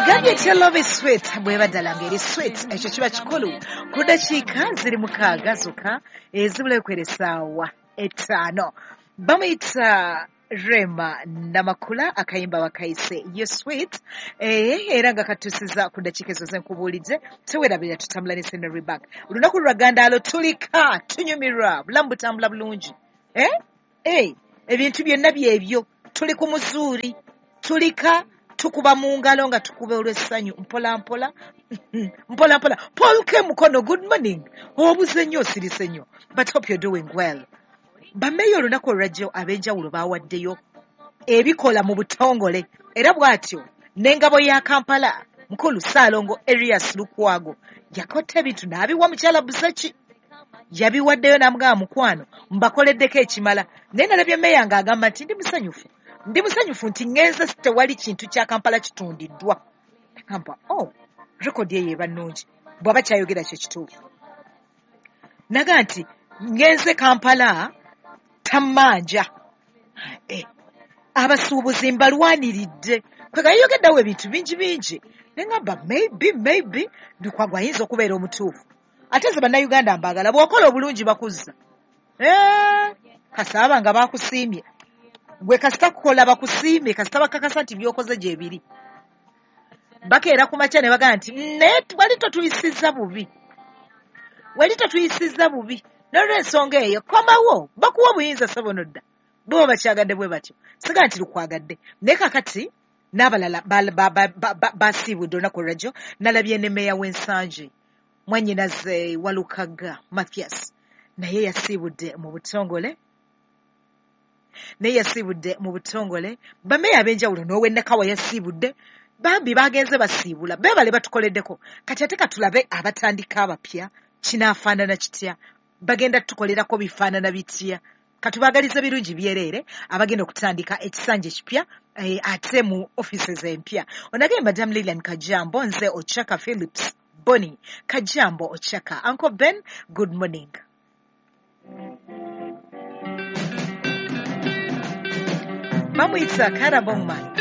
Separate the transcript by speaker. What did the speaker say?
Speaker 1: Gambye etya love is sweet bweba ddala ng'eri sweet, ekyo kiba kikulu. Ku ddakiika ziri 6 zokka ezibulayo kwera essaawa 5. Bamuyita Rema Namakula, akayimba bakayise You Sweet, era nga katusiza ku ddakiika ezo zenkubuulidde. Tewerabira tutambula ne Centenary Bank. Olunaku lwa Gandaalo tulika tunyumirwa, bulamu butambula bulungi. Ebintu byonna byebyo, tuli ku muzuuri, tulika tukuba mu ngalo nga tukuba olw'essanyu mpola mpola mpola mpola. Paul K Mukono, good morning. Obuze nnyo, osirise nnyo, but hope you're doing well. Bameeya olunaku olwajjo ab'enjawulo baawaddeyo ebikola mu butongole, era bw'atyo n'engabo ya Kampala mukulu Ssaalongo Erias Lukwago yakotta ebintu n'abiwa mukyala Buzeki, yabiwaddeyo n'amugamba mukwano mbakoleddeko ekimala. Naye nalabye meeya ng'agamba nti ndi musanyufu, ndi musanyufu nti ŋŋenze tewali kintu kya Kampala kitundiddwa. Agamba oh, rekodi eyo eba nnungi bw'aba kyayogera kye kituufu. Naga nti ŋŋenze Kampala tammanja, abasuubuzi mbalwaniridde. Kwega yayogeddewo ebintu bingi bingi, ne ŋŋamba maybe Lukwago ayinza okubeera omutuufu. Ate nze Bannayuganda mbaagala, bw'okola obulungi bakuzza. Kasaaba nga bakusiimye, gwe kasita kukola bakusiimye, kasita bakakasa nti by'okoze gye biri. Bakeera ku makya ne bagamba nti naye wali totuyisizza bubi, wali totuyisizza bubi. N'olw'ensonga eyo komawo, bakuwa obuyinza ssebo nodda. Bo bakyagadde bwe batyo, siga nti lukwagadde. Naye kaakati n'abalala basiibudde olunaku olwajjo. Nalabye ne meeya w'Ensangi mwannyinaze Walukagga Mathias, naye yasiibudde mu butongole, naye yasiibudde mu butongole. Bameeya ab'enjawulo n'ow'e Nakawa yasiibudde, bambi bagenze basiibula, beebale batukoleddeko. Kati ate katulabe abatandika abapya kinaafaanana kitya, bagenda tukolerako bifaanana bitya. Katubaagalize birungi byereere abagenda okutandika ekisanja ekipya, ate mu offices empya. Onageye Madam Lilian Kajambo, nze Ochaka Phillips Bonnie Kajambo Ochaka. Uncle Ben, good morning. Bamuyita Karabongman.